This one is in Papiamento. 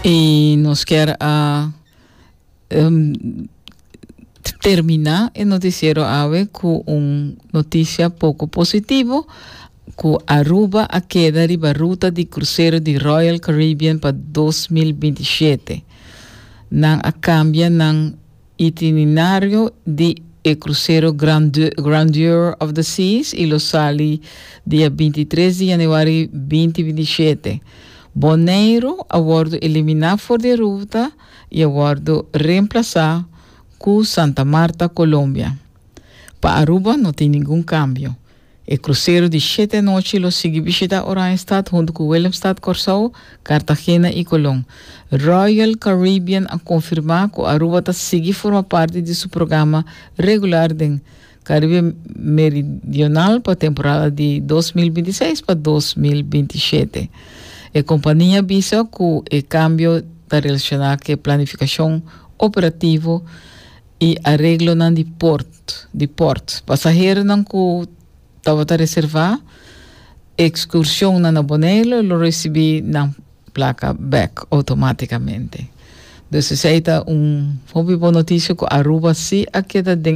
Y nos kier a termina e noticiero awe cu un noticia poco positivo cu Aruba a keda riba ruta di crucero di Royal Caribbean pa 2027. Nan a cambia nan itinerario di e crucero Grandeur of the Seas y lo sali dia 23 di januari 2027. Boneiro a wordo elimina for di e ruta y a wordo reemplasa cu Santa Marta, Colombia. Pa Aruba no tin ningun cambio. E krusero di shete anochi lo sigui bishita Oranjestad huntu ku Willemstad, Kòrsou, Cartagena i Colón. Royal Caribbean a konfirmá ku Aruba ta sigui forma parti di su programa regular den Karibe Meridional pa temporada di 2026 pa 2027. E kompania a bisa ku e kambio ta relashoná ku e planifikashon operativo i areglonan di port di port. Pasaheronan ku tabata reservá ekskurshonnan na Boneiru lo risibí nan plaka bèk outomátikamente. Dus esei ta un hopi bon notisia ku Aruba sí a keda den.